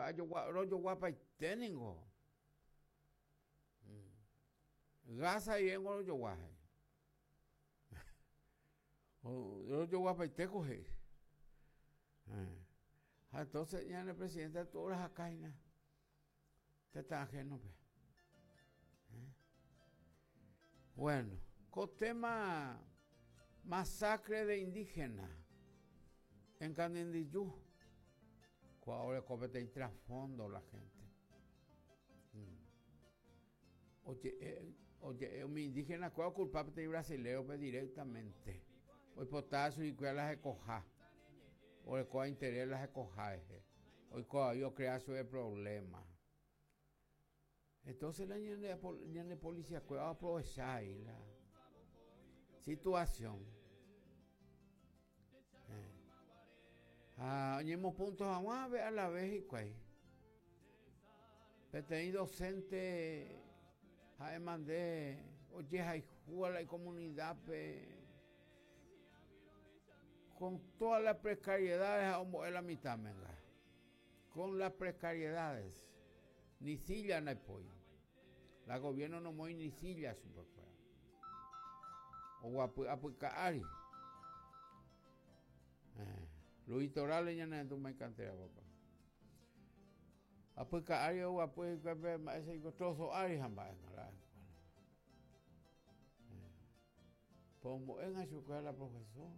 Ajogua, rojoguapaite ningo. Gas guivéngo rojogua he'i. Rojoguapaite ko he'i. Ha entonces ñane presidente katu orahaka hína tetã ajeno-pe. Bueno, ko tema masacre de indígena en Canindiyú, kóa oreko peteĩ trasfondo la gente. Oje'e, oje'e umi indígena kuéra okulpa peteĩ brasilérope directamente. Oipota chuguikuéra la hekoha, orekóva interés la hekoha rehe. Oiko vai ocrea chupe problema. Entonces la ñane, ñane policía kuéra oaprovecha ahí la situación. Eh. Ha oñemopunto hag̃ua ave a la vez hikuái. Peteĩ docente ha'e mande ojehayhúva la icomunidad-pe con todas las precariedades ha ombo'e la mitãmenga. Con las precariedades. Ni silla ndaipói. La gobierno nomoĩ ni silla chupekuéra. Oguapy apyka ári. Eh, Luis Torales ñane cantera papá. Apyka ári oguapy hikuái pe mba'éicha iko trozo ári ha mba'e la escuela. Po ombo'énga chupe la profesor.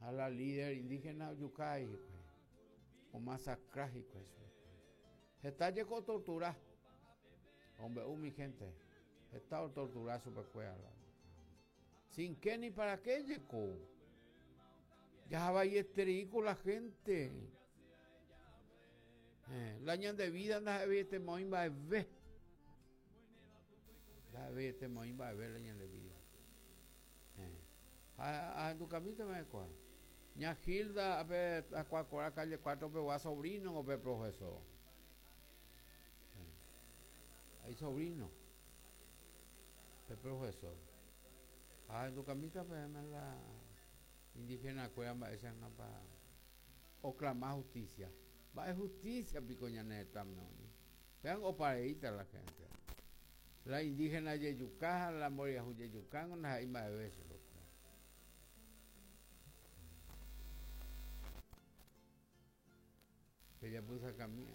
Ha la líder indígena ojuka hikuái. Omasakra hikuái chupe. Heta jeko otortura. Ombe'u umi gente. Heta otortura chupekuéra. Sin qué ni para qué jeko. Jahavaieterei ko la gente. Eh, la ñande vida ndaha'eveiete moĩ mba'eve. Ndaha'eveiete moĩ mba'eve la ñande vida. Eh, ha ahendukamíta va'ekue. Ña Gilda ape Tacuacora calle 4 pegua sobrino pe profesor. Eh, hay sobrino. Pe profesor. Ha ahendukamíta peẽme la indígena kuéra mba'éichapa oclama justicia. Mba'e justicia piko ñane retãme oĩ. Péango opareíta la gente. La indígena jejuka ha la mboriahu jejuka ndaha'éi mba'eve chupekuéra. Pejapysakami.